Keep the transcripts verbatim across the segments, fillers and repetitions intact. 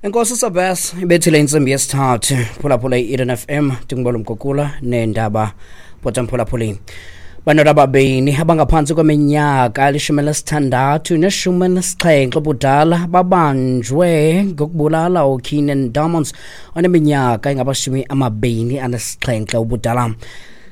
Enkosi Sabes, ibethile intsimbi yesithathu. Phulaphula i-Eden F M, ndingubala Mgugula neendaba bhota mphulaphuli. Bantwana ababini abangaphantsi kweminyaka elishumi elinesithandathu neshumi elinesixhenxe ubudala babanjwe ngokubulala uKeenan Diamonds oneminyaka engamashumi amabini anesixhenxe ubudala.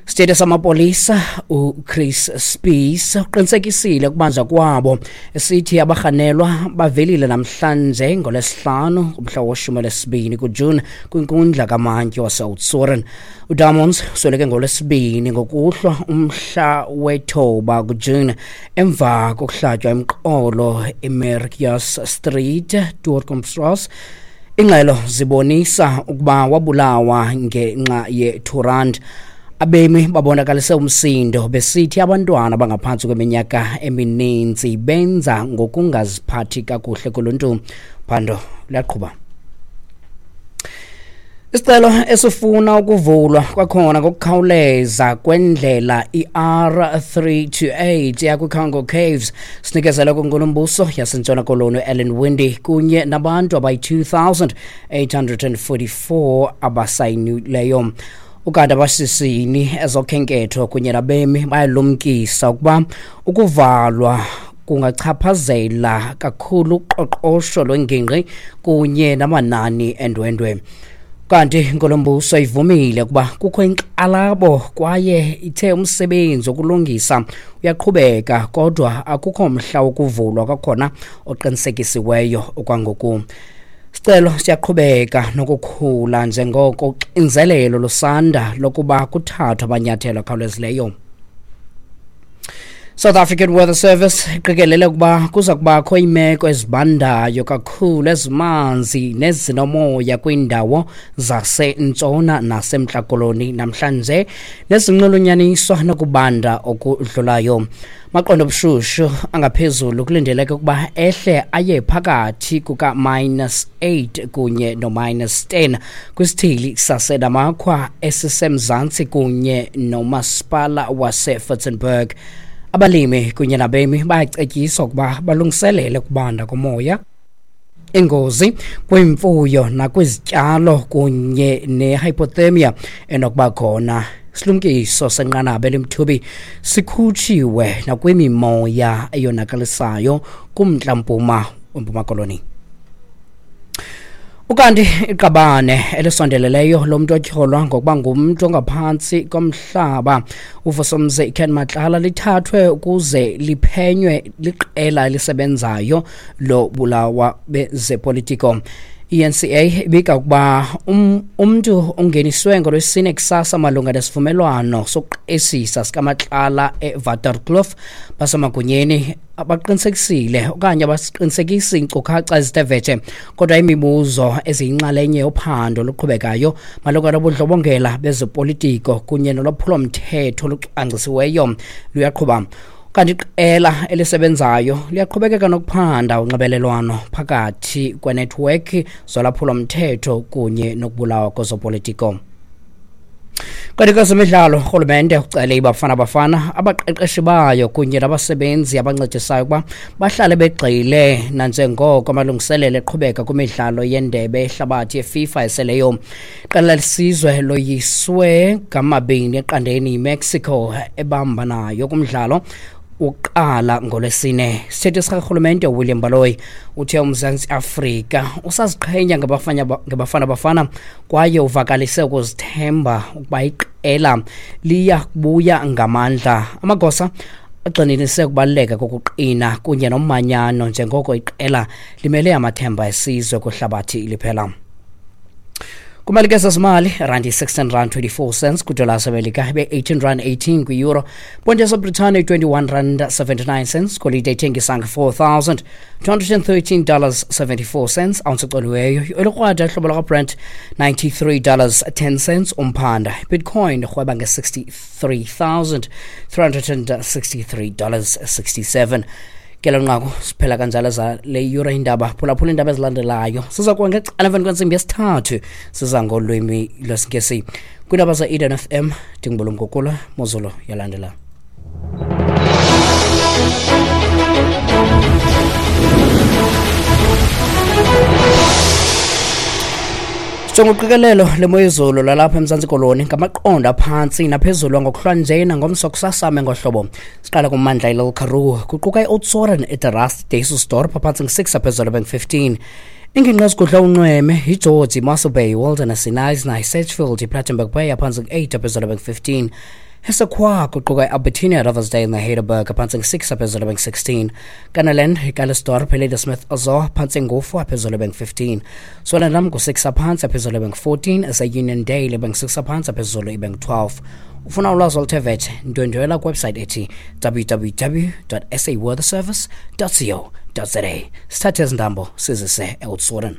Sithethe samapolisa uChris Spies uqinisekisile ukubanjwa kwabo, esithi abarhanelwa bavelile namhlanje ngoLwesihlanu umhla weshumi elinesibini kuJuni kwinkundla kamantyi waseOudtshoorn. UDiamonds usweleke ngoLwesibini ngokuhlwa umhla wethoba kuJuni emva kokuhlatywa emqolo eMerkius Street, Toekomsrus. Ingxelo zibonisa ukuba wabulawa ngenxa ye-two rand. Abemi babonakalise umsindo besithi abantwana abangaphantsi kweminyaka emininzi benza ngokungaziphathi kakuhle kuluntu. Phando luyaqhuba. Isicelo esifuna ukuvulwa kwakhona ngokukhawuleza kwendlela i-R three two eight yakwiCango Caves sinikezelwe kwinkulumbuso yaseNtshona Koloni Ellen Winde kunye nabantu abayi-two thousand eight hundred and forty-four abasayinileyo. Ukanti abashishini ezokhenketho kunye nabemi bayalumkisa ukuba ukuvalwa kungachaphazela kakhulu uqoqosho lwengingqi kunye namanani endwendwe. Kanti inkulumbuso ivumile ukuba kukho inkxalabo kwaye ithe umsebenzi wokulungisa uyaqhubeka, kodwa akukho mhla wokuvulwa kwakhona oqinisekisiweyo okwangoku. Sicelo siyaqhubeka nokukhula njengoko uxinzelelo lusanda lokuba kuthathwe amanyathelo akhawulezileyo. South African Weather Service iqikelele ukuba kuza kubakho iimeko ezibandayo kakhulu ezimanzi nezinomoya kwiindawo zasentshona nasemntla Koloni namhlanje nezinxulunyaniswa nokubanda okudlulayo. Maqondo obushushu angaphezulu kulindeleke ukuba ehle aye phakathi kuka minus eight kunye no minus ten kwisithili saseNamakwa esisemzantsi kunye nomasipala waseWitzenberg. Abalimi kunye nabemi bayacetyiswa ukuba balungiselele ukubanda komoya, ingozi kwimfuyo nakwizityalo kunye nehypothermia enokuba khona. Silumkiso senqanaba elimthubi sikhutshiwe nakwimimoya eyonakalisayo kumntla-mpuma weMpuma Koloni. Ukanti iqabane elisondeleleyo lomntu otyholwa ngokuba ngumntu ongaphantsi komhlaba uVusumzi Ken Matlala lithathwe ukuze liphenywe liqela elisebenzayo lobulawa bezepolitiko. I N C A ibika ukuba um, umntu ungeniswe ngoLwesine kusasa malunga nesivumelwano sokuqesisa sikaMatlala eWaterkloof. Basemagunyeni abaqinisekisile okanye abasiqinisekisi iinkcukacha ezithe vetshe, kodwa imibuzo eziyinxalenye yophando oluqhubekayo malunga nobundlobongela bezopolitiko kunye nolwaphulomthetho olucwangcisiweyo luyaqhuba. Kanti iqela elisebenzayo liyaqhubekeka nokuphanda unxibelelwano phakathi kwenethiwekhi zolwaphulomthetho kunye nokubulawa kwezopolitiko. Kanti kwezemidlalo, urhulumente ucele iBafana Bafana, abaqeqeshi bayo kunye nabasebenzi abancedisayo ukuba bahlale begxile nanjengoko amalungiselelo eqhubeka kwimidlalo yendebe yehlabathi yeFIFA eseleyo. Iqela lesizwe loyiswe ngamabini eqandeni yiMexico ebambanayo kumdlalo uqala ngoLwesine. Isithethi sikarhulumente William Baloyi uthe uMzantsi Afrika usaziqhenya ngabafana ngabafana bafana kwaye uvakalise ukuzithemba ukuba iqela liya kubuya ngamandla. Amagosa agxininise ukubaluleka kokuqina kunye nomanyano njengoko iqela limele amathemba esizwe kwihlabathi liphela. Kumalike sezimali, randi sixteen rand twenty-four cents kwidola yaseMelika ibe eighteen rand eighteen kwi-euro. Ponti yaseBritane twenty-one rand seventy-nine cents, golide ithengisa nge-four thousand two hundred and thirteen dollars seventy-four cents, ounce ecoliweyo elikrwada ihlobo lakaBrent ninety-three dollars ten cents umphanda. Bitcoin irhweba nge-sixty-three thousand three hundred and sixty-three dollars sixty-seven. Ke nqaku siphela kanjalo za le yure indaba. Phulaphula indaba ezilandelayo siza kuba ngecala emveni kwentsimbi yesithathu siza ngolwimi lwesiNgesi. Kwiindaba ze-Eden F M ndingubulumgugula Mozulu yalandela. Njengoqikelelo lemoyezulu lalapha eMzantsi Koloni ngamaqondo aphantsi naphezulu ngokuhlwa nje nangomso kusasame ngohlobo. Siqala kummandla iLittle Karoo kuquka i-Oudtshoorn, eDerast, Dysselsdorp aphantsi ngu-six aphezulu bengu-fifteen. Ingingqi ezigudla unxweme iGeorge, iMossel Bay, Wilderness, iKnysna, iSedgefield, iPlattenberg Bay aphantsi ngu-eight aphezulu bengu-fifteen. Hessequa kuquka i-Albertina, Riversdale neHeidelberg aphantsi ngu-six aphezulu bengu-sixteen. Kannaland, iCallesdorp, iLadysmith, Zoar phantsi ngu-four aphezulu bengu-fifteen. Swellendam ngu-six aphantsi aphezulu bengu-fourteen. Ese-Uniondale bengu-six aphantsi aphezulu ibengu-twelve. Ufuna ulwazi oluthe vetshe, ndwendwela kwiwebsite ethi w w w dot s a weather service dot co dot za. Sithathe ezi ntambo sizise eOudtshoorn.